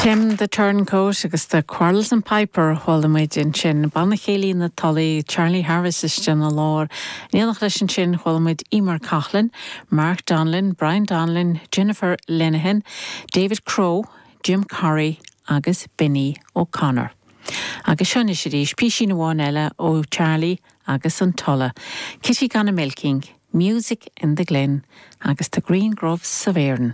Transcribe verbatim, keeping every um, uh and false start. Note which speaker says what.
Speaker 1: Tim the Turncoat agus the Quarrelsome Piper chuala muid ansin Banna Céilí na Tulaí Charlie Harris istigh ina lár. In éineacht leis ansin chuala muid Emer Coughlin, Mark Donlan, Brian Donlan, Jennifer Linehan, David Crow, Jim Curry agus Benny O'Connor. Agus seo anois arís píosa amháin eile ó Charlie agus an Tulla. Kitty Gone a Milking, Music in the Glen agus the Green Groves of Erin.